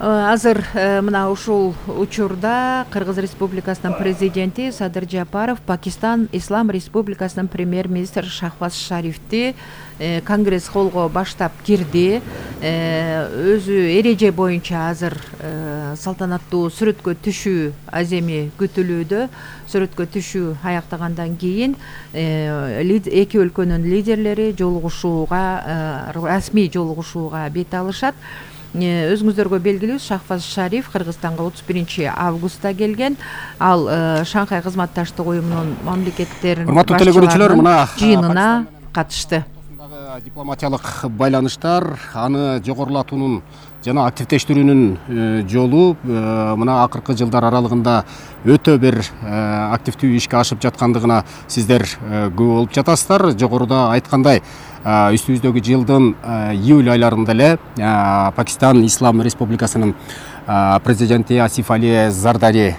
Азыр мына ушул учурда Кыргыз Республикасынын президенти Садыр Жапаров Пакистан Ислам Республикасынын премьер-министри Шахбаз Шарифти Конгресс холлго баштап кирди. Өзү эреже боюнча азыр салтанаттуу сүрөткө түшүү аземи күтүлүүдө. Сүрөткө түшүү аяктагандан кийин эки өлкөнүн лидерлери расмий жолугушууга бет алышат. Өзүңүздөргө белгилүү, Шахбаз Шариф Кыргызстанга 31-августта келген. Ал Шанхай кызматташтык уюмунун мамлекеттеринин башчыларынын жыйынына катышты. Дипломатиялык байланыштар, аны жогорулатуунун жана активдештирүүнүн жолу мына акыркы жылдар аралыгында өтө бир активдүү ишке ашып жаткандыгына сиздер күбө болуп жатасыздар. Жогоруда айткандай, үстүбүздөгү жылдын июль айларында эле Пакистан Ислам Республикасынын президенти Асиф Али Зардари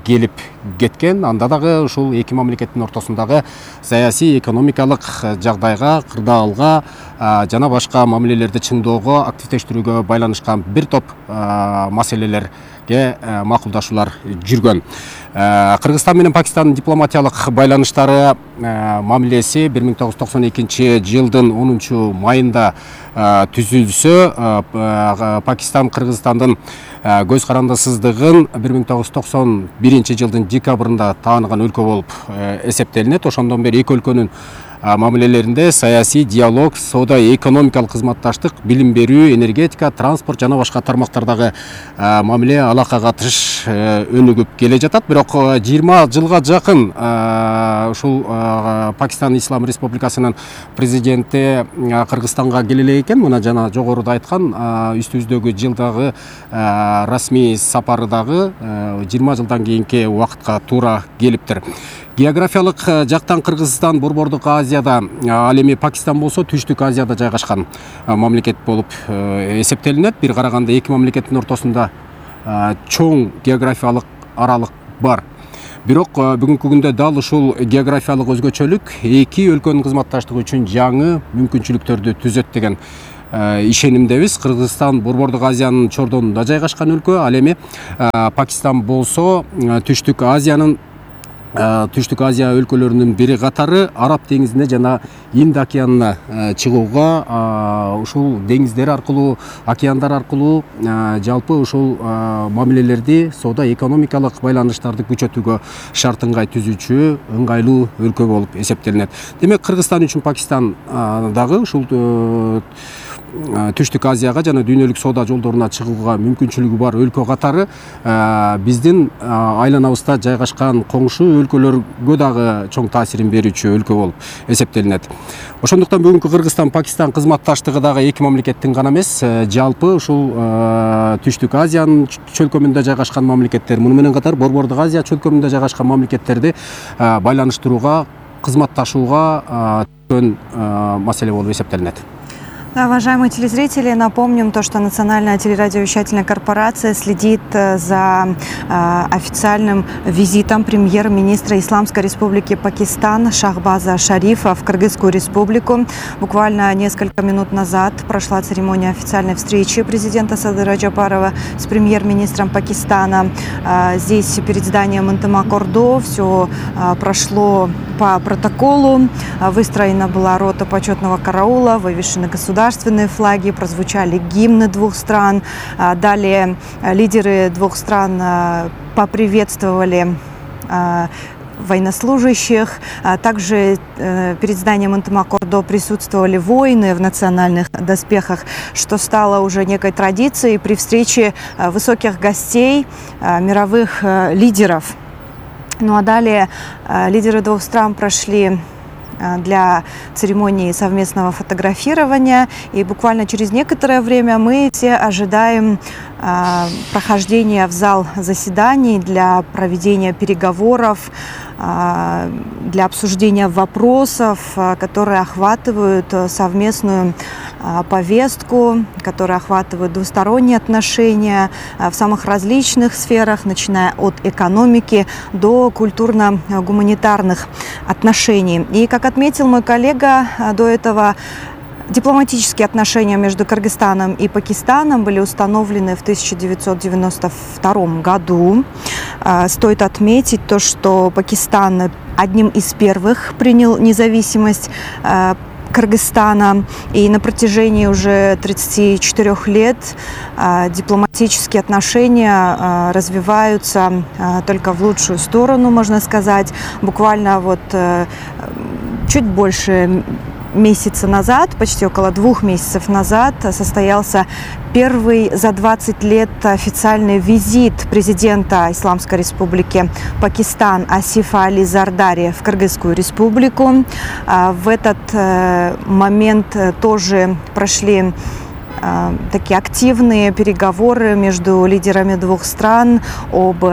келип кеткен. Анда дагы ушул эки мамлекеттин ортосундагы саясий, экономикалык жагдайга, кырдаалга жана башка мамилелерди чыңдоого, активдештирүүгө байланышкан бир топ маселелерге макулдашуулар жүргөн. Кыргызстан менен Пакистандын дипломатиялык байланыштары мамилеси 1992 жылдын 10 майында түзүлсө, Пакистан Кыргызстандын көз карандысыздыгын 1991 жылдын декабрында тааныган өлкө болуп эсептелинет. Ошондон бери эки өлкөнүн мамилелеринде саясий диалог, соода, экономикалык кызматташтык, билим берүү, энергетика, транспорт жана башка тармактардагы мамиле алака катыш өнүгүп келе жатат. Бирок 20 жылга жакын ушул Пакистан Ислам Республикасынын президенти Кыргызстанга келе элек экен. Мына жана жогоруда айткан, үстүбүздөгү жылдагы расмий сапары дагы 20 жылдан кийинки убакытка туура келиптир. Географиялык жактан Кыргызстан Борбордук Азияда, ал эми Пакистан болсо Түштүк Азияда жайгашкан мамлекет болуп эсептелинет. Бир караганда эки мамлекеттин ортосунда чоң географиялык аралык бар. Бирок бүгүнкү күндө дал ушул географиялык өзгөчөлүк эки өлкөнүн кызматташтыгы үчүн жаңы мүмкүнчүлүктөрдү түзөт деген ишенимдебиз. Кыргызстан Борбордук Азиянын чордонунда жайгашкан өлкө, ал эми Пакистан болсо Түштүк Азия өлкөлөрүнүн бири катары. Араб деңизине жана Инд океанына чыгууга, ушул деңиздер аркылуу, океандар аркылуу жалпы ушул мамилелерди, соода, экономикалык байланыштарды күчөтүүгө шарт ыңгай түзүүчү ыңгайлуу өлкө болуп эсептелинет. Демек, Кыргызстан үчүн Пакистан дагы ушул Түштүк Азияга жана дүйнөлүк соода жолдоруна чыгууга мүмкүнчүлүгү бар өлкө катары биздин айланабызда жайгашкан коңшу өлкөлөргө дагы чоң таасирин берүүчү өлкө болуп эсептелинет. Ошондуктан бүгүнкү Кыргызстан-Пакистан кызматташтыгы дагы эки мамлекеттин гана эмес, жалпы ушул Түштүк Азиянын чөлкөмүндө жайгашкан мамлекеттер, муну менен катар Борбордук Азия чөлкөмүндө жайгашкан мамлекеттерди байланыштырууга, кызматташууга маселе болуп эсептелинет. Да, уважаемые телезрители, напомним то, что Национальная телерадиовещательная корпорация следит за официальным визитом премьер-министра Исламской республики Пакистан Шахбаза Шарифа в Кыргызскую республику. Буквально несколько минут назад прошла церемония официальной встречи президента Садыра Джапарова с премьер-министром Пакистана. Здесь перед зданием Интамак-Ордо все прошло по протоколу. Выстроена была рота почетного караула, вывешены государственные флаги, прозвучали гимны двух стран. Далее лидеры двух стран поприветствовали военнослужащих. Также перед зданием Интамак-Ордо присутствовали воины в национальных доспехах, что стало уже некой традицией при встрече высоких гостей, мировых лидеров. Ну а далее лидеры двух стран прошли для церемонии совместного фотографирования. И буквально через некоторое время мы все ожидаем прохождения в зал заседаний для проведения переговоров, для обсуждения вопросов, которые охватывают совместную повестку, которые охватывают двусторонние отношения в самых различных сферах, начиная от экономики до культурно-гуманитарных отношений. И, как отметил мой коллега, до этого Дипломатические отношения между Кыргызстаном и Пакистаном были установлены в 1992 году. Стоит отметить то, что Пакистан одним из первых принял независимость Кыргызстана, и на протяжении уже 34 лет дипломатические отношения развиваются только в лучшую сторону, можно сказать. Буквально вот чуть больше месяца назад, почти около 2 месяцев назад, состоялся первый за 20 лет официальный визит президента Исламской Республики Пакистан Асифа Али Зардари в Кыргызскую Республику. В этот момент тоже прошли такие активные переговоры между лидерами двух стран об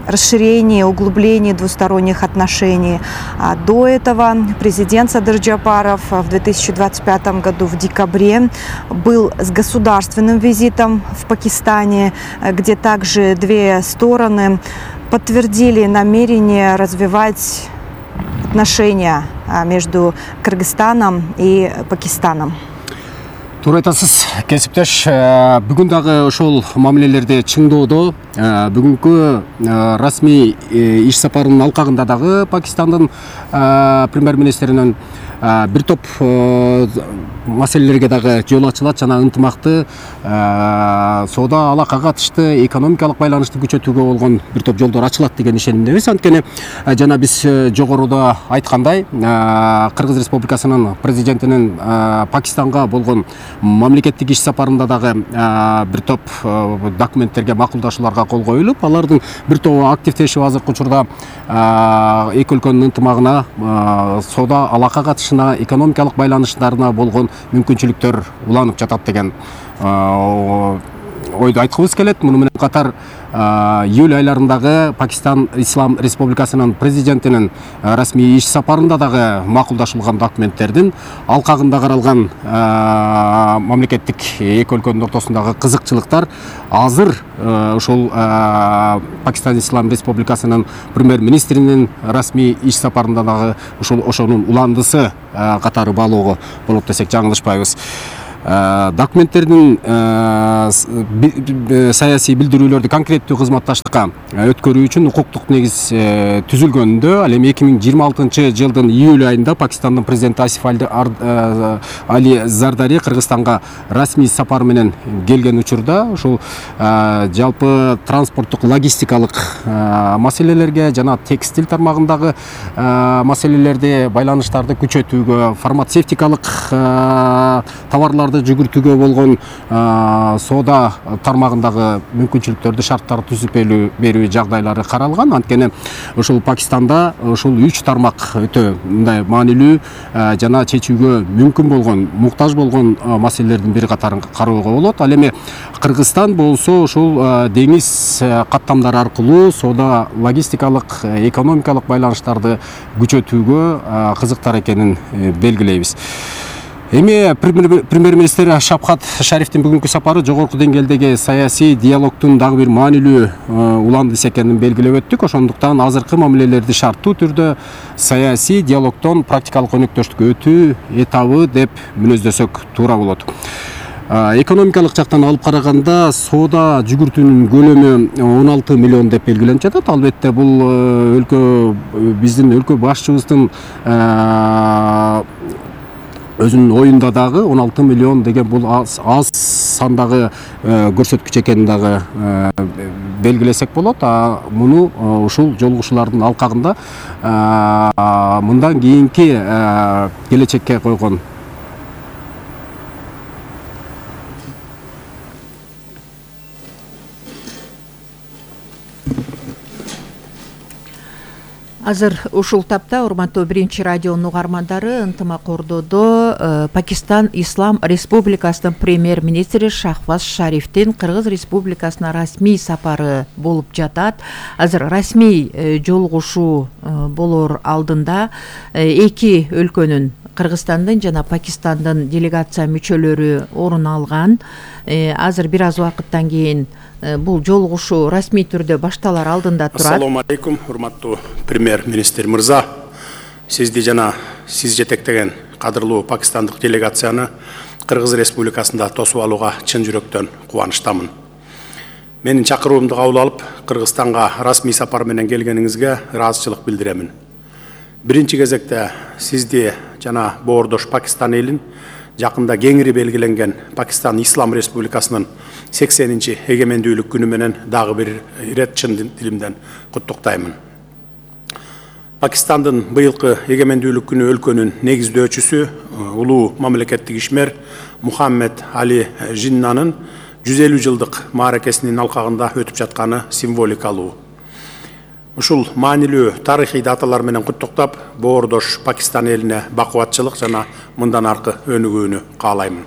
расширении, углублении двусторонних отношений. До этого президент Садыр Джапаров в 2025 году в декабре был с государственным визитом в Пакистане, где также две стороны подтвердили намерение развивать отношения между Кыргызстаном и Пакистаном. Туура айтасыз, кесиптеш, бүгүн дагы ошол мамилелерди чыңдоодо бүгүнкү расмий иш сапарынын алкагында дагы Пакистандын премьер-министринин бир топ маселелерге дагы жол ачылат жана ынтымакты соода алакага катышты, экономикалык байланышты күчөтүүгө болгон бир топ жолдор ачылат деген ишенимдебиз. Анткени жана биз жогоруда айткандай, Кыргыз Республикасынын президентинин Пакистанга болгон мамлекеттик иш сапарында дагы бир топ документтерге, макулдашууларга кол коюлуп, алардын бир тобу активдешип азыркы учурда эки өлкөнүн ынтымагына, соода алака катышына, экономикалык байланыштарына болгон мүмкүнчүлүктөр уланып жатат деген ойду айткыбыз келет. Муну менен катар июль айларындагы Пакистан Ислам Республикасынын президентинин расмий иш сапарында дагы макулдашылган документтердин алкагында каралган мамлекеттик эки өлкөнүн ортосундагы кызыкчылыктар азыр ошол Пакистан Ислам Республикасынын премьер-министринин расмий иш сапарында дагы ошонун уландысы катары баалоого болот десек жаңылышпайбыз. Документтердин саясий билдирүүлөрдү конкреттүү кызматташтыкка өткөрүү үчүн укуктук негиз түзүлгөнүндө, ал эми 2026 жылдын июль айында Пакистандын президенти Асиф Али Зардари Кыргызстанга расмий сапар менен келген учурда ушул жалпы транспорттук логистикалык маселелерге жана текстиль тармагындагы маселелерди, байланыштарды күчөтүүгө, фармацевтикалык товарлар жүгүртүүгө болгон соода тармагындагы мүмкүнчүлүктөрдү, шарттарды түзүп берүү жагдайлары каралган. Анткени ошол Пакистанда ошол 3 тармак өтө мындай маанилүү жана чечүүгө мүмкүн болгон, муктаж болгон маселелердин бири катарын кароого болот. Ал эми Кыргызстан болсо ошол деңиз каттамдары аркылуу соода, логистикалык, экономикалык байланыштарды күчөтүүгө кызыктар экенин белгилейбиз. Эми премьер-министр Шавкат Шарифтин бүгүнкү сапары жогорку деңгээлдеги саясий диалогдун дагы бир маанилүү уландысы экенин белгилеп өттүк. Ошондуктан азыркы мамилелерди шарттуу түрдө саясий диалогдон практикалык өнөктөштүккө өтүү этабы деп мүнөздөсөк туура болот. Экономикалык жактан алып караганда соода жүгүртүүнүн көлөмү 16 миллион деп белгиленип жатат. Албетте бул биздин өлкө башчыбыздын өзүнүн оюнда дагы 16 миллион деген бул аз сандагы көрсөткүч экенин дагы белгилесек болот. Муну ушул жолугушуулардын алкагында мындан кийинки келечекке койгон Азыр ушул тапта урматтуу биринчи радионун угармандары, ынтымак ордодо Пакистан Ислам Республикасынын премьер-министри Шахваз Шарифтин Кыргыз Республикасына расмий сапары болуп жатат. Азыр расмий жолугушуу болор алдында эки өлкөнүн, Кыргызстандын жана Пакистандын делегация мүчөлөрү орун алган. Азыр бир аз убакыттан кийин бул жолугушуу расмий түрдө башталар алдында турат. Ассаламу алейкум, урматтуу премьер-министр мырза. сизди жана сиз жетектеген кадырлуу пакистандык делегацияны Кыргыз Республикасында тосуп алууга чын жүрөктөн кубанычтамын. Менин чакыруумду кабыл алып, Кыргызстанга расмий сапар менен келгениңизге ыраазычылык билдиремин. Биринчи кезекте сизди жана боордош Пакистан элин жакында кеңири белгиленген Пакистан Ислам Республикасынын 80-нчи эгемендүүлүк күнү менен дагы бир ирет чын дилимден куттуктаймын. Пакистандын быйылкы эгемендүүлүк күнү өлкөнүн негиздөөчүсү улуу мамлекеттик ишмер Мухаммед Али Жиннанын 150 жылдык мааракесинин алкагында өтүп жатканы символикалуу. Ушул маанилүү тарыхый даталар менен куттуктап, боордош Пакистан элине бакубатчылык жана мындан аркы өнүгүүнү каалаймын.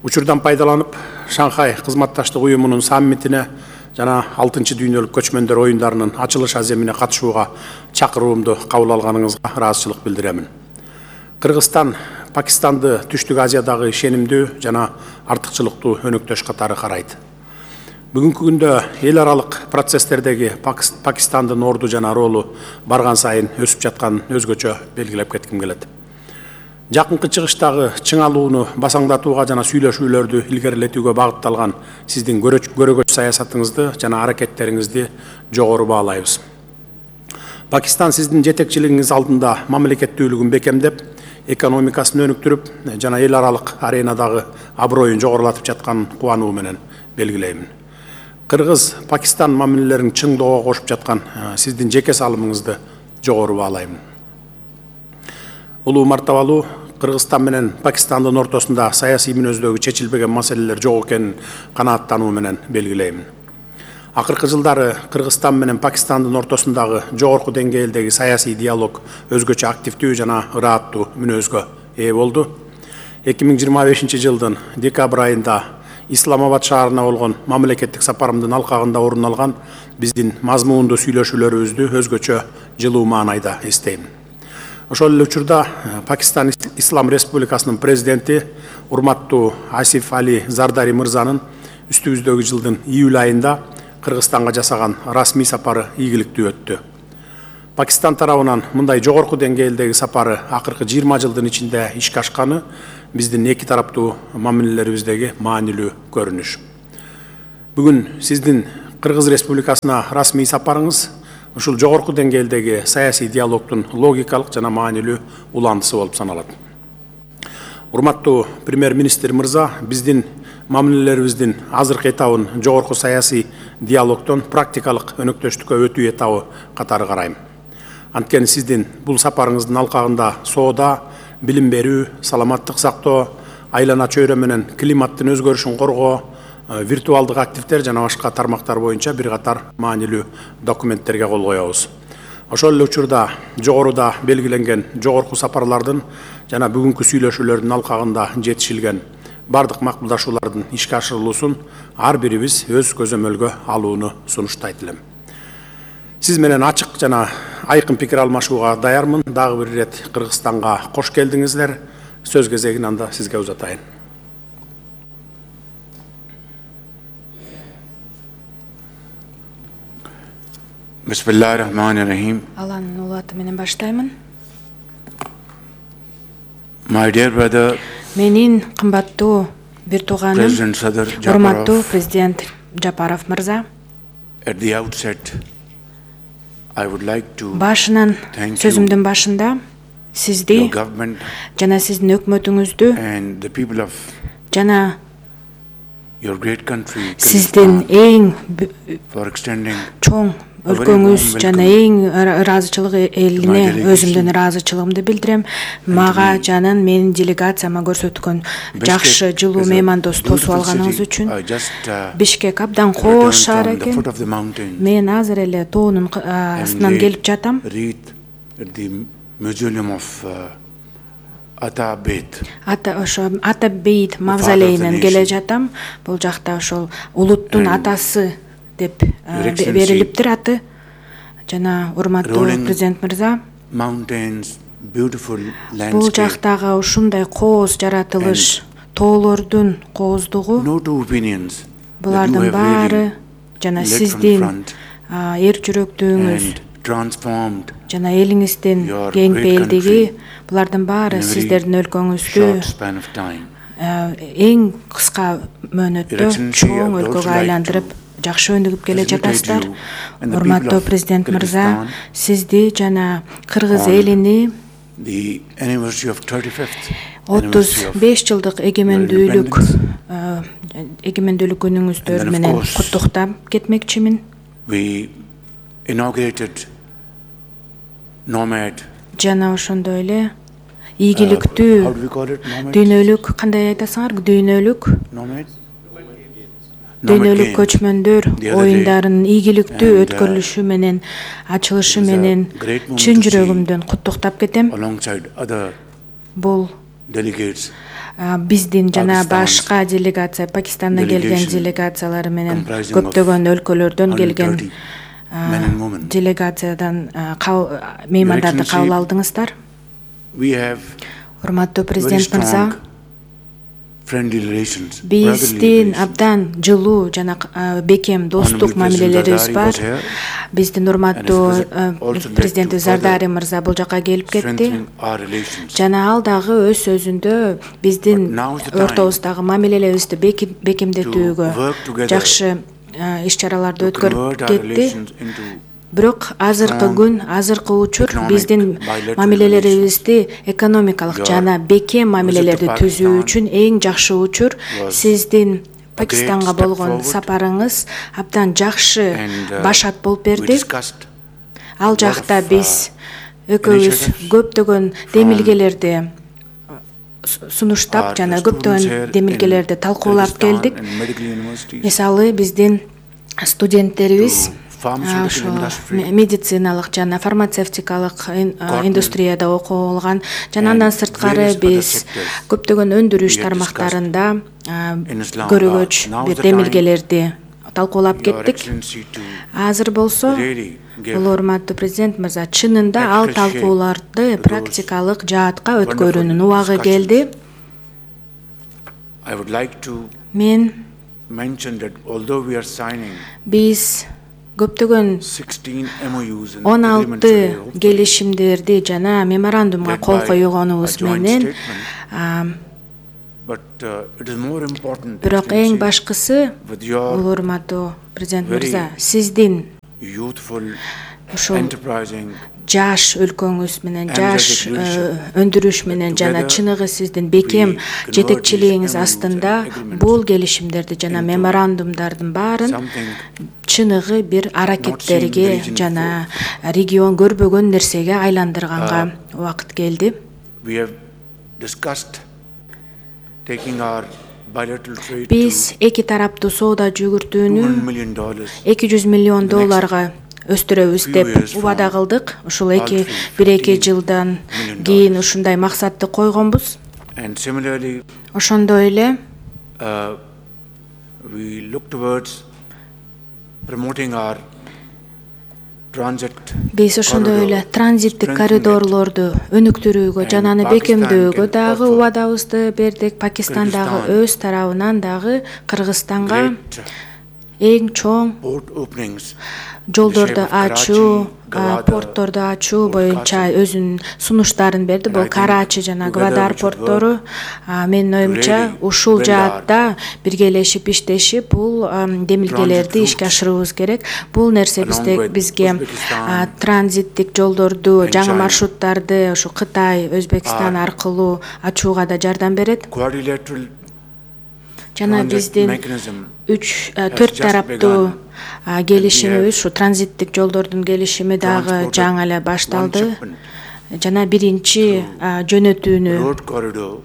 Учурдан пайдаланып, Шанхай кызматташтык уюмунун саммитине жана 6-чы дүйнөлүк көчмөндөр оюндарынын ачылыш аземине катышууга чакыруумду кабыл алганыңызга ыраазычылык билдиремин. Кыргызстан Пакистанды Түштүк Азиядагы ишенимдүү жана артыкчылыктуу өнөктөш катары карайт. Бүгүнкү күндө эл аралык процесстердеги Пакистандын орду жана ролу барган сайын өсүп жатканын өзгөчө белгилеп кетким келет. Жакынкы чыгыштагы чыңалууну басаңдатууга жана сүйлөшүүлөрдү илгерилетүүгө багытталган сиздин көрөгөч саясатыңызды жана аракеттериңизди жогору баалайбыз. Пакистан сиздин жетекчилигиңиз алдында мамлекеттүүлүгүн бекемдеп, экономикасын өнүктүрүп жана эл аралык аренадагы аброюн жогорулатып жатканын кубануу менен белгилеймин. Кыргыз-Пакистан мамилелерин чыңдоого кошуп жаткан сиздин жеке салымыңызды жогору баалайм. Улуу мартабалуу Кыргызстан менен Пакистандын ортосунда саясий мүнөздөгү чечилбеген маселелер жок экенин канааттануу менен белгилейм. Акыркы жылдары Кыргызстан менен Пакистандын ортосундагы жогорку деңгээлдеги саясий диалог өзгөчө активдүү жана ырааттуу мүнөзгө ээ болду. 2025 жылдын декабрь айында Исламабад шаарына болгон мамлекеттик сапарымдын алкагында орун алган биздин мазмундуу сүйлөшүүлөрүбүздү өзгөчө жылуу маанайда эстейм. Ошол эле учурда Пакистан Ислам Республикасынын президенти урматтуу Асиф Али Зардари мырзанын үстүбүздөгү жылдын июль айында Кыргызстанга жасаган расмий сапары ийгиликтүү өттү. Пакистан тарабынан мындай жогорку деңгээлдеги сапары акыркы 20 жылдын ичинде ишке ашканы биздин эки тараптуу мамилелерибиздеги маанилүү көрүнүш. Бүгүн сиздин Кыргыз Республикасына расмий сапарыңыз ушул жогорку деңгээлдеги саясий диалогдун логикалык жана маанилүү уландысы болуп саналат. Урматтуу премьер-министр мырза, биздин мамилелерибиздин азыркы этабын жогорку саясий диалогдон практикалык өнөктөштүккө өтүү этабы катары карайм. Анткени сиздин бул сапарыңыздын алкагында соода, билим берүү, саламаттык сактоо, айлана чөйрө менен климаттын өзгөрүшүн коргоо, виртуалдык активдер жана башка тармактар боюнча бир катар маанилүү документтерге кол коебуз. Ошол эле учурда жогоруда белгиленген жогорку сапарлардын жана бүгүнкү сүйлөшүүлөрдүн алкагында жетишилген бардык макулдашуулардын ишке ашырылуусун ар бирибиз өз көзөмөлгө алууну сунуштайт элем. Сиз менен ачык жана айкын пикир алмашууга даярмын. Дагы бир ирет Кыргызстанга кош келдиңиздер. Сөз кезегин анда сизге узатайын. Bismillahirrahmanirrahim. Алланын улуу аты менен баштаймын. My dear brother, Менин кымбаттуу бир тууганым, President Sadr урматтуу Japarov, президент Жапаров мырза, at the outset, I would like to башынан thank you, сөзүмдүн башында сизди your government жана сиздин өкмөтүңүздү and the people of жана your great country, сиздин Kyrgyzstan, эң for extending чоң өлкөңүз жана эң ыраазычылык элине өзүмдүн ыраазычылыгымды билдирем. Мага жанын менин делегацияма көрсөткөн жакшы жылуу меймандос тосуп алганыңыз үчүн. Бишкек абдан кооз шаар экен. Мен азыр эле тоонун астынан келип жатам. Ата Бейт мавзолейинен келе жатам. Бул жакта ошол улуттун атасы деп берилиптир аты. Жана урматтуу президент мырза, бул жактагы ушундай кооз жаратылыш, тоолордун кооздугу, булардын баары жана сиздин эр жүрөктүүңүз transformed жана элиңиздин your кең great пейилдиги country булардын баары in a very сиздердин өлкөңүздү short span of time. эң кыска мөөнөттө Your Excellency, чоң I would өлкөгө also like айландырып жакшы өнүгүп келе congratulate жатасыздар. you and the Урматтуу people of президент мырза, Kyrgyzstan сизди жана кыргыз on элини the anniversary of 35th anniversary of 35 жылдык эгемендүүлүк күнүңүздөр And then, of менен course, куттуктап кетмекчимин. we inaugurated Nomad. Жана ошондой эле How ийгиликтүү do we call it? Nomad? дүйнөлүк кандай айтасыңар? Nomad? Дүйнөлүк көчмөндөр The other day. оюндарынын ийгиликтүү And, өткөрүлүшү менен ачылышы it was a менен great moment чын to see жүрөгүмдөн куттуктап кетем. Alongside other Бул delegates биздин жана Pakistan's башка делегация, Пакистандан келген delegation делегациялары менен comprising көптөгөн өлкөлөрдөн 130 келген men and women. делегациядан меймандарды Excellency, кабыл алдыңыздар. We have Урматтуу very президент мырза, strong friendly relations. биздин абдан жылуу жана бекем достук Honorable мамилелерибиз President бар. Zardari was here. Биздин урматтуу And it was also led президент to Зардари further мырза бул жака келип кетти. strengthening our relations. Жана ал дагы өз сөзүндө биздин But now is the time ортобуздагы мамилелерибизди бекемдетүүгө to work together жакшы иш-чараларды to convert өткөрүп our кетти. relations into Бирок азыркы strong күн, азыркы учур economic биздин bilateral мамилелерибизди экономикалык Your жана бекем мамилелерди visit to түзүү үчүн эң жакшы учур was сиздин a great Пакистанга step болгон forward. сапарыңыз абдан жакшы and башат болуп we берди. discussed Ал lot жакта of, биз экөөбүз initiatives көптөгөн демилгелерди сунуштап our жана students here көптөгөн демилгелерди in талкуулап Kyrgyzstan келдик. and medical universities Мисалы биздин студенттерибиз to pharmaceutical ошо industry, медициналык жана фармацевтикалык индустрияда окуп алган жана and андан сырткары various other биз sectors көптөгөн өндүрүш we have тармактарында in Islam. көрөгөч Now is бир the time, демилгелерди талкуулап Your кеттик. Excellency, to Азыр болсо really give бул урматтуу президент мырза, чынында ал practical shape талкууларды to практикалык жаатка wonderful өткөрүүнүн убагы discussions. келди. I would like to Мен mention that although we are signing биз көптөгөн 16 MOUs and 16 agreements today, hopefully келишимдерди жана меморандумга led кол by койгонубуз a joint менен statement, but it is more important, бирок эң Excellency, башкысы with бул your урматтуу президент very мырза, сиздин youthful, ушул enterprising, жаш өлкөңүз менен, жаш energetic leadership өндүрүш менен жана together чыныгы сиздин бекем we convert жетекчилигиңиз these MOUs астында and agreements бул келишимдерди жана into меморандумдардын баарын something чыныгы бир not аракеттерге seen in the region жана регион көрбөгөн нерсеге айландырганга убакыт келди. we have discussed taking our bilateral trade Биз эки тараптуу соода to жүгүртүүнү $200 million $200 миллион the өстүрөбүз few деп years убада from кылдык. Ушул all three, 1-2 $15 жылдан million. кийин ушундай максатты койгонбуз. and similarly Ошондой эле we look towards promoting our transit биз ошондой эле corridor, транзиттик strengthening it. коридорлорду өнүктүрүүгө And жана аны Pakistan бекемдөөгө can дагы offer убадабызды бердик. Пакистан дагы Kyrgyzstan өз тарабынан дагы Кыргызстанга great эң чоң port openings жолдорду in the shape of ачуу, Karachi, Gwadar, портторду ачуу or боюнча Karachi. өзүнүн сунуштарын берди. And Бул I think Карачи жана together Гвадар we should порттору. Менин оюмча really ушул build жаатта биргелешип иштешип бул демилгелерди Transit ишке routes ашырыбыз керек. Бул нерсе along with бизге Uzbekistan транзиттик жолдорду, and жаңы China. маршруттарды ушу Кытай, Өзбекстан аркылуу ачууга да жардам берет. quadrilateral Жана transit биздин mechanism 4 just тараптуу begun. келишимибиз, ушу транзиттик жолдордун келишими дагы Transported жаңы эле one башталды. shipment Жана биринчи жөнөтүүнү, road corridor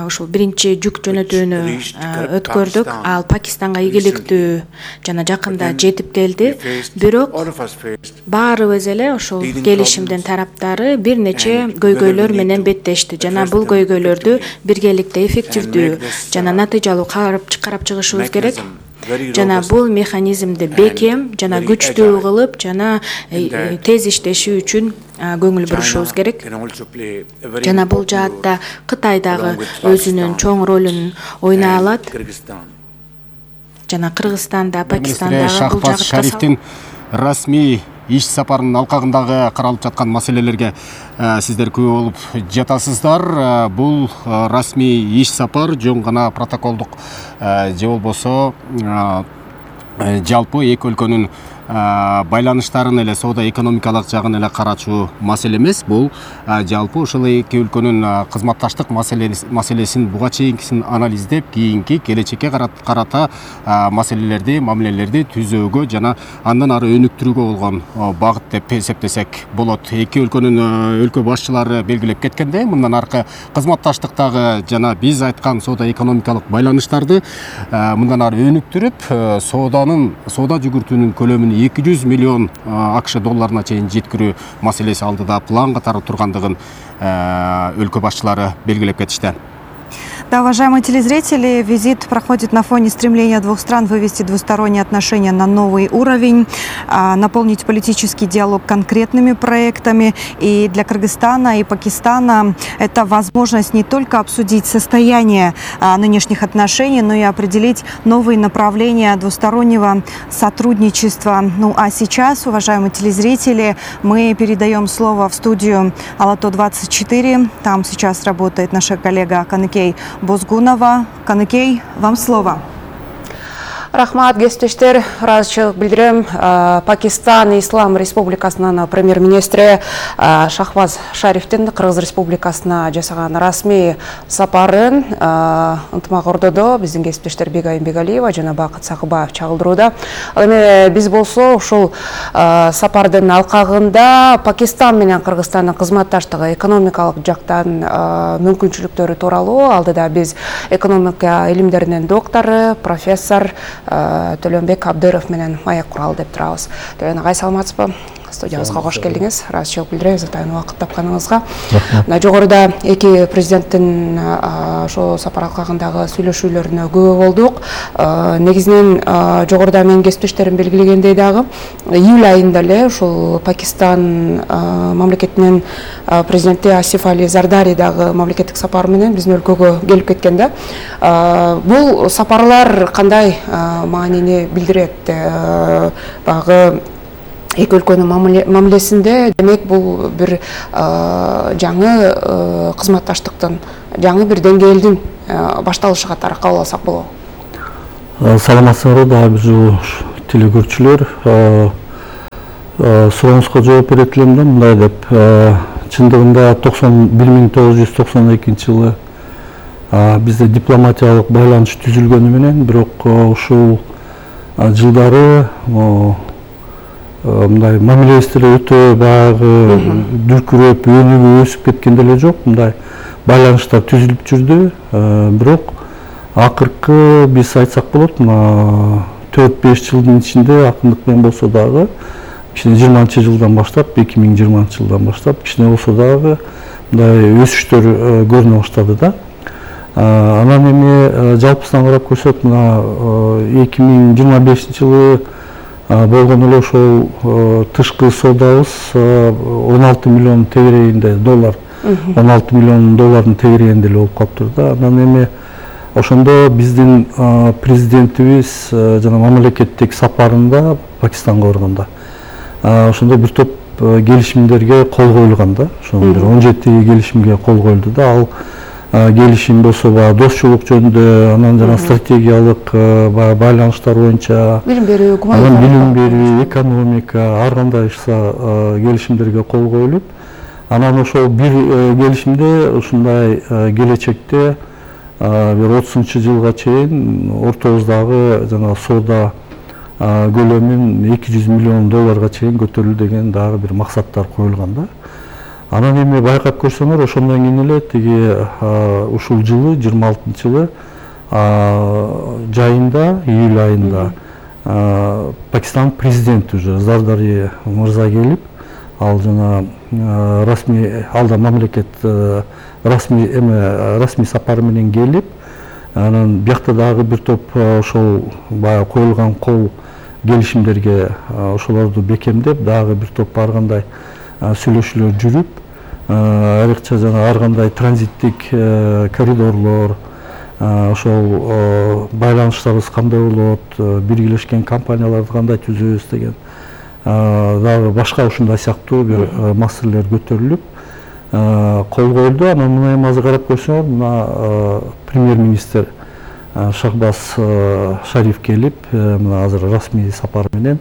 ушул биринчи жүк жөнөтүүнү reached өткөрдүк. Pakistan Ал Пакистанга ийгиликтүү жана жакында But then жетип келди. we faced, Бирок all of us faced баарыбыз эле ошол leading келишимдин problems. тараптары бир нече And көйгөйлөр whether we менен need to беттешти жана address бул them көйгөйлөрдү effectively биргеликте эффективдүү and make this, жана натыйжалуу карап чыгышыбыз керек. mechanism very Жана robust бул механизмди бекем жана very күчтүү agile. кылып жана In that тез иштеши үчүн көңүл бурушубуз China керек. can also play a very Жана бул important role жаатта Кытай дагы along with өзүнүн Pakistan чоң ролун ойной and алат. Kyrgyzstan. Жана Кыргызстан да, Пакистан министри дагы бул Шахбаз жагытка Шарифтин расмий иш сапарынын алкагындагы каралып жаткан маселелерге сиздер күбө болуп жатасыздар. Бул расмий иш сапар жөн гана протоколдук же болбосо жалпы эки өлкөнүн байланыштарын эле соода экономикалык жагын эле карачу маселе эмес. Бул жалпы ошол эки өлкөнүн кызматташтык маселесин буга чейинкисин анализдеп, кийинки келечекке карата маселелерди, мамилелерди түзүүгө жана андан ары өнүктүрүүгө болгон багыт деп эсептесек болот. Эки өлкөнүн өлкө башчылары белгилеп кеткендей, мындан аркы кызматташтыктагы жана биз айткан соода экономикалык байланыштарды мындан ары өнүктүрүп, соода жүгүртүүнүн көлөмүн 200 миллион АКШ долларына чейин жеткирүү маселеси алдыда план катары тургандыгын өлкө башчылары белгилеп кетишти. Да, уважаемые телезрители, визит проходит на фоне стремления двух стран вывести двусторонние отношения на новый уровень, наполнить политический диалог конкретными проектами. И для Кыргызстана и Пакистана это возможность не только обсудить состояние нынешних отношений, но и определить новые направления двустороннего сотрудничества. Ну а сейчас, уважаемые телезрители, мы передаем слово в студию Алато-24. Там сейчас работает наша коллега Каныкей Бозгунова. Каныкей, вам слово. Рахмат, кесиптештер, ыраазычылык билдирем. Пакистан Ислам Республикасынын премьер-министри Шахваз Шарифтин Кыргыз Республикасына жасаган расмий сапарын ынтымак ордодо биздин кесиптештер Бегайым Бегалиева жана Бакыт Сакыбаев чагылдырууда. Ал эми биз болсо ушул сапардын алкагында Пакистан менен Кыргызстандын кызматташтыгы экономикалык жактан мүмкүнчүлүктөрү тууралуу алдыда биз экономика илимдеринин доктору, профессор Төлөнбек Абдыров менен маек куралы деп турабыз. Төлөн агай, саламатсызбы? Студиябызга кош келдиңиз. Ыраазычылык билдиребиз атайын убакыт тапканыңызга. Мына жогоруда эки президенттин ошо сапар алкагындагы сүйлөшүүлөрүнө күбө болдук. Негизинен жогоруда менин кесиптештерим белгилегендей дагы июль айында эле ушул Пакистан мамлекетинин президенти Асиф Али Зардари дагы мамлекеттик сапар менен биздин өлкөгө келип кеткен да. Бул сапарлар кандай маанини билдирет? Багы эки өлкөнүн мамилесинде демек бул бир жаңы кызматташтыктын, жаңы бир деңгээлдин башталышы катары кабыл алсак болобу? Саламатсыздарбы, дагы телекөрүүчүлөр. Сурооңузга жооп берет элем да, мындай деп. Чындыгында 1992 жылы бизде дипломатиялык байланыш түзүлгөнү менен, бирок ушул жылдары мындай мамилебиздер өтө баягы дүркүрөп, өнүгүп өсүп кеткен деле жок. Мындай байланыштар түзүлүп жүрдү. Бирок акыркы биз айтсак болот, 4-5 жылдын ичинде акындык менен болсо дагы, кичине 20-жылдан баштап, 2020-жылдан баштап кичине болсо дагы мындай өсүштөр көрүнө баштады да. Анан эми жалпысынан карап көрсөк, мына 2025 жылы болгон эле ошол тышкы соодабыз 16 миллион тегерегинде доллар, 16 миллион доллардын тегерегинде эле болуп калыптыр да. Анан эми ошондо биздин президентибиз жана мамлекеттик сапарында Пакистанга барганда ошондо бир топ келишимдерге кол коюлган да. Ошондо бир 17 келишимге кол коюлду да. Ал келишим болсо баягы достчулук жөнүндө, анан жана стратегиялык байланыштар боюнча, билим берүү, экономика, ар кандай келишимдерге кол коюлуп, анан ошол бир келишимде ушундай келечекте бир 30-жылга чейин ортобуздагы жана соода көлөмүн 200 миллион долларга чейин көтөрүлүү деген дагы бир максаттар коюлган да. Анан эми байкап көрсөңөр, ошондон кийин эле тиги ушул жылы 26-жылы жайында, июль айында Пакистан президенти уже Зардари мырза келип, ал жана расмий алда мамлекет расмий сапары менен келип, анан биякта дагы бир топ ошол баягы коюлган кол келишимдерге ошолорду бекемдеп, дагы бир топ ар кандай сүйлөшүүлөр жүрүп, айрыкча жана ар кандай транзиттик коридорлор, ошол байланыштарыбыз кандай болот, биргелешкен компанияларды кандай түзөбүз деген дагы башка ушундай сыяктуу бир маселелер көтөрүлүп кол коюлду. Анан мына эми азыр карап көрсөңөр, мына премьер-министр Шахбаз Шариф келип, мына азыр расмий сапар менен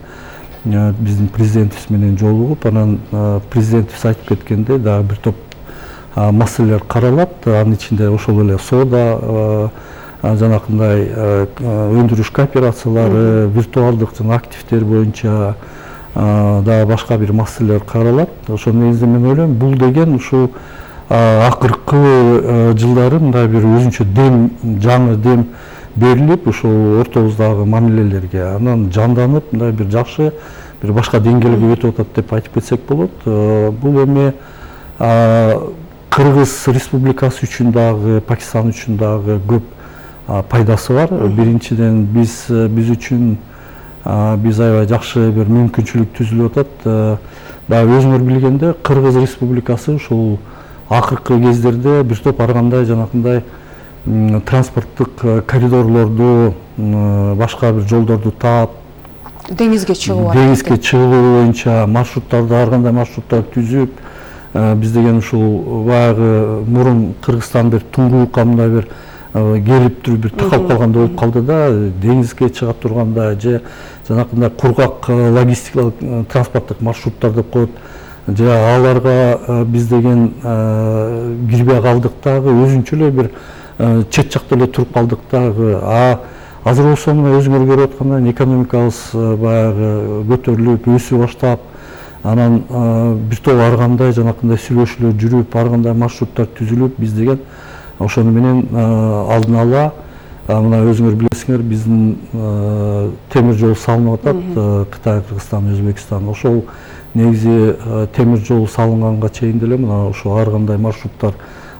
биздин президентибиз менен жолугуп, анан президентибиз айтып кеткендей дагы бир топ маселелер каралат. Анын ичинде ошол эле соода, жанакындай өндүрүш кооперациялары, виртуалдык жана активдер боюнча дагы башка бир маселелер каралат. Ошол негизинде мен ойлойм, бул деген ушул акыркы жылдары мындай бир өзүнчө дем, жаңы дем берилип, ушул ортобуздагы мамилелерге анан жанданып, мындай бир жакшы бир башка деңгээлге өтүп атат деп айтып кетсек болот. Бул эми Кыргыз Республикасы үчүн дагы, Пакистан үчүн дагы көп пайдасы бар. Биринчиден биз үчүн биз аябай жакшы бир мүмкүнчүлүк түзүлүп атат. Дагы өзүңөр билгендей, Кыргыз Республикасы ушул акыркы кездерде бир топ ар кандай жанакындай транспорттук коридорлорду, башка бир жолдорду таап, деңизге чыгуу боюнча маршруттарды, ар кандай маршруттарды түзүп, биз деген ушул баягы мурун Кыргызстан бир туңгуюкка мындай бир келип туруп бир такалып калгандай болуп калды да, деңизге чыга турганда же жанакындай кургак логистикалык транспорттук маршруттар деп коет, же аларга биз деген кирбей калдык дагы, өзүнчө эле бир чет жакта эле туруп калдык дагы. Азыр болсо мына өзүңөр көрүп аткандай экономикабыз баягы көтөрүлүп, өсүп баштап, анан бир топ ар кандай жанакындай сүйлөшүүлөр жүрүп, ар кандай маршруттар түзүлүп, биз деген ошону менен алдын ала мына өзүңөр билесиңер, биздин темир жол салынып атат, Кытай, Кыргызстан, Өзбекстан. Ошол негизи темир жол салынганга чейин деле мына ошо ар кандай маршруттар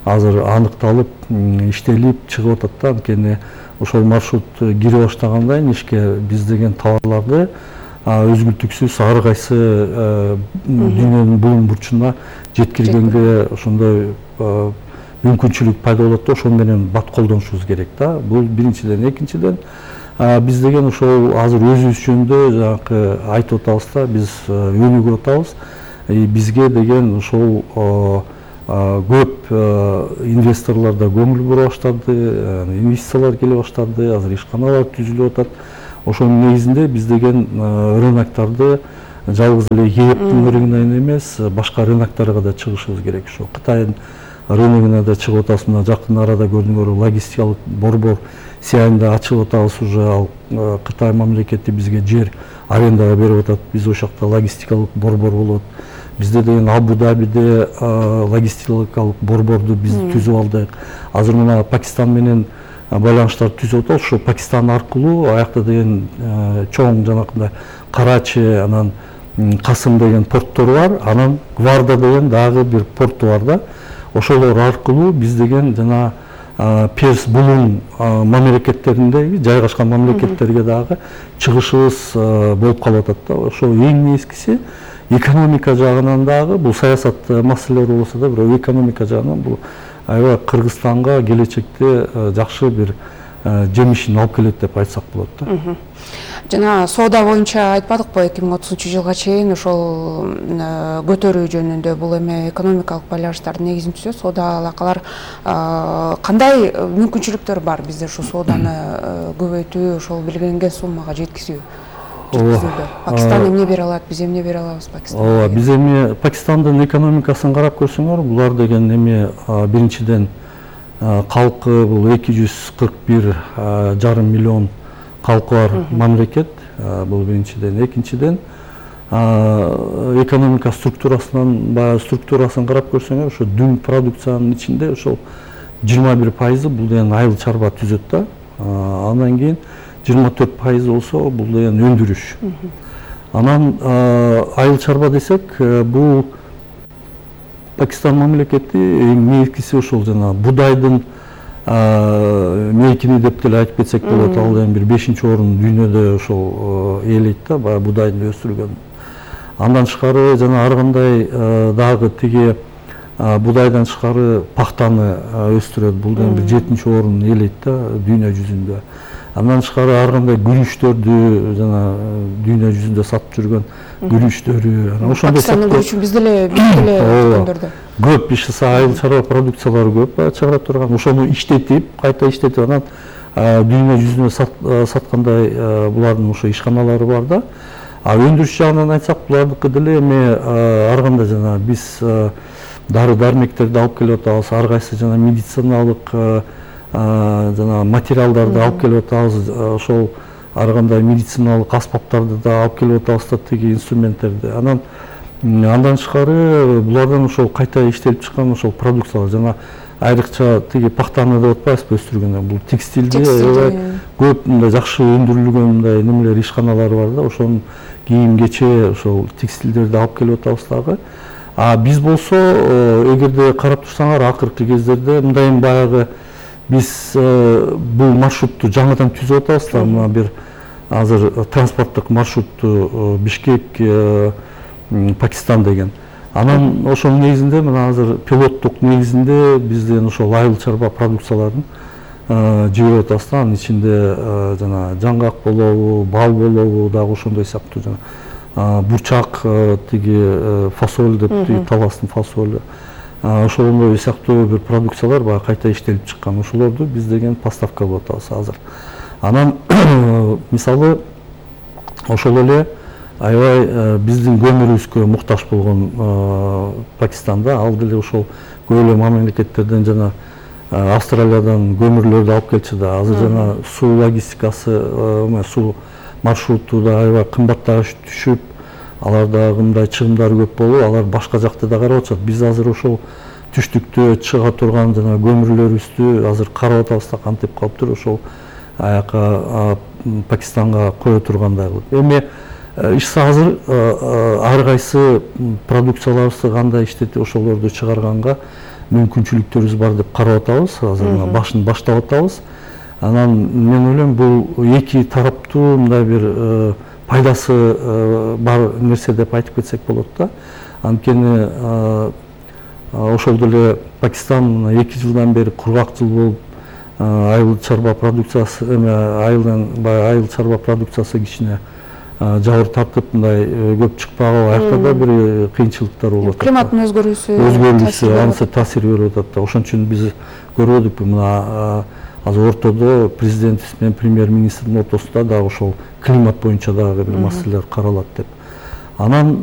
азыр аныкталып, иштелип чыгып атат да. Анткени ошол маршрут кире баштагандан ишке биз деген товарларды өзгүлтүксүз ар кайсы дүйнөнүн булуң бурчуна жеткиргенге ошондой мүмкүнчүлүк пайда болот да, ошол менен бат колдонушубуз керек да. Бул биринчиден. Экинчиден, биз деген ошол азыр өзүбүз жөнүндө жанакы айтып атабыз да, биз өнүгүп атабыз. Бизге деген ошол көп инвесторлор да көңүл бура баштады, инвестициялар келе баштады, азыр ишканалар түзүлүп атат. Ошонун негизинде биз деген рыноктарды жалгыз эле ЕЭПтин рыногуна эмес, башка рыноктарга да чыгышыбыз керек. Ошо Кытайдын рыногуна да чыгып атабыз. Мына жакын арада көрдүңөр, логистикалык борбор сыяйында ачып атабыз уже. Ал Кытай мамлекети бизге жер арендага берип атат. Биз ошол жакта логистикалык борбор болот. Бизде деген Абу-Дабиде логистикалык борборду биз түзүп алдык. Азыр мына Пакистан менен байланыштар түзүп атабыз. Ошо Пакистан аркылуу аякта деген чоң жанакындай Карачи, анан Касым деген порттор бар, анан Гварда деген дагы бир порту бар да. Ошолор аркылуу биз деген жана Перс булуң мамлекеттеринде жайгашкан мамлекеттерге дагы чыгышыбыз болуп калып атат да. Ошо эң нескиси экономика жагынан дагы, бул саясат маселелери болсо да, бирок экономика жагынан бул аябай Кыргызстанга келечекте жакшы бир жемишин алып келет деп айтсак болот да. Жана соода боюнча айтпадыкпы, 2030-жылга чейин ошол көтөрүү жөнүндө бул эми экономикалык байланыштардын негизин түзөт. Соода алакалар кандай мүмкүнчүлүктөр бар бизде ушул сооданы көбөйтүү, ошол белгиленген суммага жеткизүү? Пакистан эмне бере алат, биз эмне бере алабыз Пакистанга? Биз эми Пакистандын экономикасын карап көрсөңөр, булар деген эми биринчиден калкы бул 241,5 миллион калкы бар мамлекет, бул биринчиден. Экинчиден, экономика структурасын карап көрсөңөр, ошо дүң продукциянын ичинде ошол 21% бул деген айыл чарба түзөт да. Андан кийин 24% болсо бул деген өндүрүш. Анан айыл чарба десек, бул Пакистан мамлекети эң негизгиси ошол жана будайдын мейкини деп деле айтып кетсек болот. Ал эми бир 5-орун дүйнөдө ошол ээлейт да, баягы будайдын өстүрүлгөн. Андан тышкары жана ар кандай дагы тиги будайдан тышкары пахтаны өстүрөт. Бул эми бир 7-орун ээлейт да дүйнө жүзүндө. Андан тышкары ар кандай күрүчтөрдү жана дүйнө жүзүндө сатып жүргөн күрүчтөрү ошондой Пакистандын күрүчүн биз деле түшкөндөрдө көп иш айыл чарба продукциялары көп чыгара турган, ошону иштетип, кайта иштетип анан дүйнө жүзүнө саткандай булардын ошо ишканалары бар да. Өндүрүш жагынан айтсак, булардыкы деле эми ар кандай жана биз дары дармектерди алып келип атабыз, ар кайсы жана медициналык жана материалдарды алып келип атабыз, ошол ар кандай медициналык аспаптарды да алып келип атабыз да, тиги инструменттерди. Андан тышкары булардан ошол кайта иштелип чыккан ошол продукциялар жана айрыкча тиги пахтаны деп атпайбызбы өстүргөндө, бул текстилде көп мындай жакшы өндүрүлгөн мындай немелер ишканалары бар да, ошонун кийим кече ошол текстилдерди алып келип атабыз дагы. Биз болсо эгерде карап турсаңар акыркы кездерде мындай баягы биз бул маршрутту жаңыдан түзүп атабыз да, мына бир азыр транспорттук маршрутту Бишкек Пакистан деген. Анан ошонун негизинде мына азыр пилоттук негизинде бизден ошол айыл чарба продукцияларын жиберип атабыз да. Анын ичинде жана жаңгак болобу, бал болобу, дагы ошондой сыяктуу жана бурчак, тиги фасоль деп, тиги таластын фасолу. Ошондой сыяктуу бир продукциялар баягы кайта иштелип чыккан. Ошолорду биз деген поставка кылып атабыз азыр. Анан мисалы ошол эле аябай биздин көмүрүбүзгө муктаж болгон Пакистанда ал деле ошол көп эле мамлекеттерден жана Австралиядан көмүрлөрдү алып келчү да. Азыр жана суу логистикасы, суу маршруту да аябай кымбатташып түшүп, аларда мындай чыгымдары көп болуп, алар башка жакта да карап атышат. Биз азыр ошол түштүктө чыга турган жана көмүрлөрүбүздү азыр карап атабыз да, кантип калыптыр ошол аяка Пакистанга кое тургандай кылып. Эми азыр ар кайсы продукцияларыбызды кандай иштетип ошолорду чыгарганга мүмкүнчүлүктөрүбүз бар деп карап атабыз. Азыр башын баштап атабыз. Анан мен ойлойм бул эки тараптуу мындай бир пайдасы бар нерсе деп айтып кетсек болот да. Анткени ошол деле Пакистан 2 жылдан бери кургак жыл болуп, айыл чарба продукциясы айыл чарба продукциясы кичине жабыр тартып мындай көп чыкпагы, аякта да бир кыйынчылыктар болуп атат. Климаттын өзгөрүүсү анысы таасир берип атат да. Ошон үчүн биз көрүп мына азыр ортодо президент менен премьер-министрдин ортосунда дагы ошол климат боюнча дагы бир маселелер каралат деп. Анан